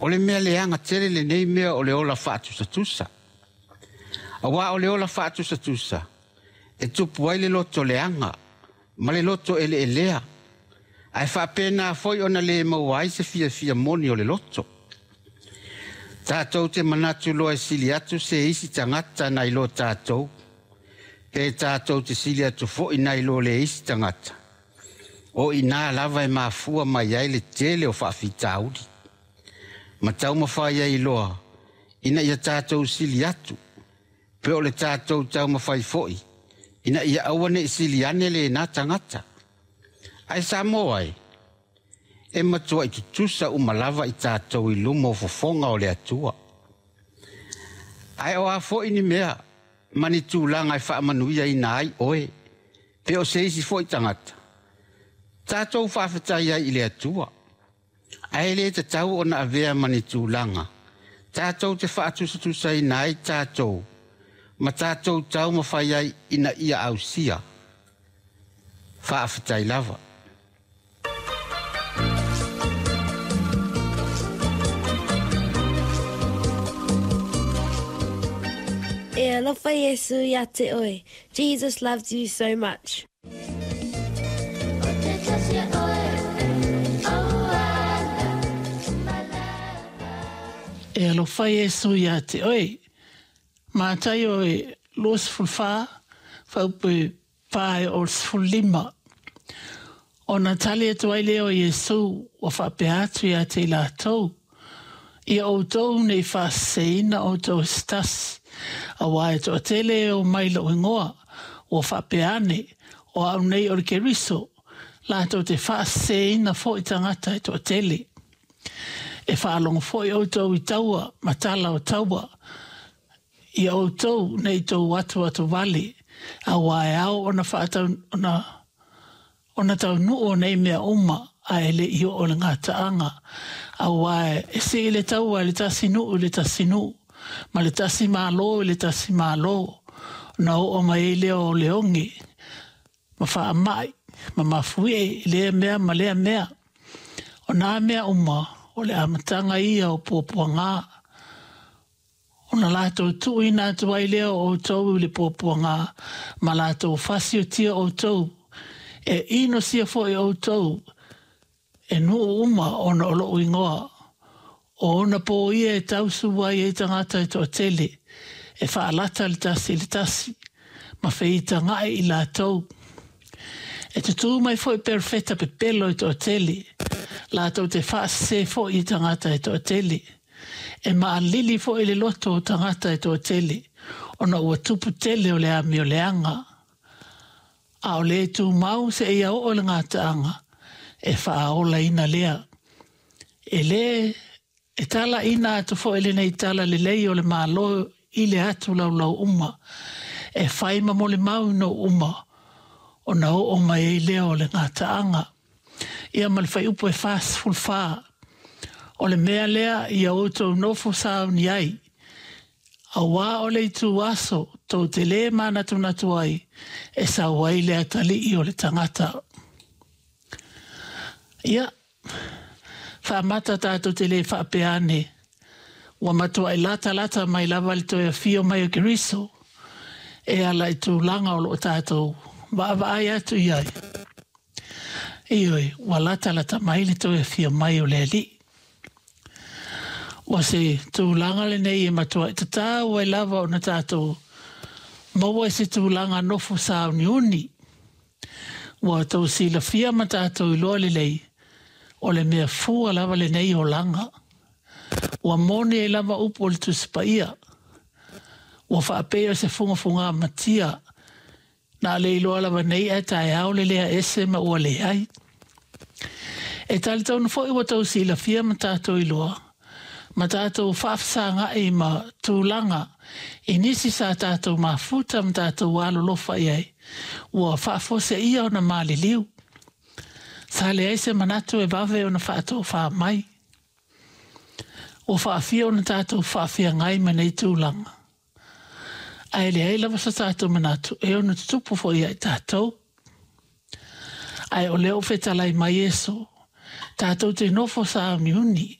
O le mea leaga tele lenei mea o le ola faatusatusa. Auā o le ola faatusatusa, e tupu ai le loto leaga ma le loto eleelea, ae faapena foi ona le maua ai se fiafia moni o le loto. Tatou te manatu loa e sili atu se isi tagata nai lo tatou, pe tatou te sili atu foi nai lo le isi tagata, o i ina lava e mafua mai ai le tele o faafitauli. Ma taumafai ai loa ina ia tatou sili atu, pe o le tatou taumafai foi ina ia aua ne i sili ane lena tagata. Ae Samoa e, e matuai tutusa uma lava i tatou i luma o fofoga o le Atua. Ae o a foi ni mea ma ni tulaga e faamanuiaina ai oe, pe o se isi foi tagata, tatou faafetai ai i le Atua. Ae le tatau ona avea ma ni tulaga tatou te faatusatusaina ai tatou ma tatou taumafai ai ina ia ausia. Faafetai lava. E alofa Iesu ia te oe. Jesus loves you so much. E alofa Iesu ia te oe. Mataio e 24, faaupu e 4 e oo i le 15. Ona tali atu ai lea o Iesu, ua faapea atu ia te i latou, Ia outou ne i faaseseina outou e se tasi, auā e toatele e omai i lou igoa, ua faapea ane, O au nei o le Keriso, latou te faaseseina foi tagata e toatele. E faalogo foi outou i taua ma tala o taua, ia outou ne i tou atuatu vale, auā e ao ona faatau, ona, ona taunuu o nei mea uma, ae le i oo le gataaga, auā e sii le taua e le tasi nuu i le tasi nuu, ma le tasi malo i le tasi malo, ona oo mai ai lea o le oge, ma faamai, ma mafuie i lea mea ma lea mea. O nā mea uma, o le amataga ia o puapuagā. Ona latou tuuina atu ai lea o outou i le puapuagā, ma latou fasiotia outou, e inosia foi outou e nuu uma ona o lou igoa. O ona pō ia e tausu ai e tagata e toatele, e faalata le tasi i le tasi, ma feitagaʻi i latou. E tutū mai foi perofeta pepelo e toatele, latou te faasesē foi i tagata e toatele. E maalili foi le loto o tagata e toatele, ona ua tupu tele o le amioleaga. A o le tumau seia oo i le gataaga, e faaolaina lea. E lē e talaina atu foi lenei tala lelei o le Malo i le atu laulau uma, e fai ma molimau i nuu uma, ona oo mai ai lea o le gataaga. Ia ma le fuaiupu e 44, O le mea lea ia outou nofo sauni ai, auā o le itu aso tou te lē manatunatu ai e sau ai le atalii o le tagata. Ia, faamata tatou te lē faapea ane, ua matuai latalata mai lava le toe afio mai o Keriso e ala i tulaga o loo tatou vaavaai atu i ai. Ioe, ua latalata mai le toe afio mai o le Alii. Ua se tulaga lenei e matuai tatau ai lava ona tatou maua i se tulaga nofo sauniuni. Ua tou silafia ma tatou iloa lelei, o le mea fua lava lenei olaga. Ua moni ai lava upu o le Tusi Paia, Ua faapea o se fugafugā matia, na le iloa lava nei ae taeao le lea ese ma ua leai. E talitonu foi ua tou silafia ma tatou iloa, ma tatou faafesagaʻi ma tulaga i nisi sa tatou mafuta ma tatou alolofa i ai, ua faafuaseia ona maliliu. Sa leai se manatu e vave ona faatofā mai. Ua faafia ona tatou faafeagai ma nei tulaga. Ae leai lava so tatou manatu e ono tutupu foi ia i tatou. Ae o lea ua fetalai mai Iesu, tatou te nofo sāuniuni,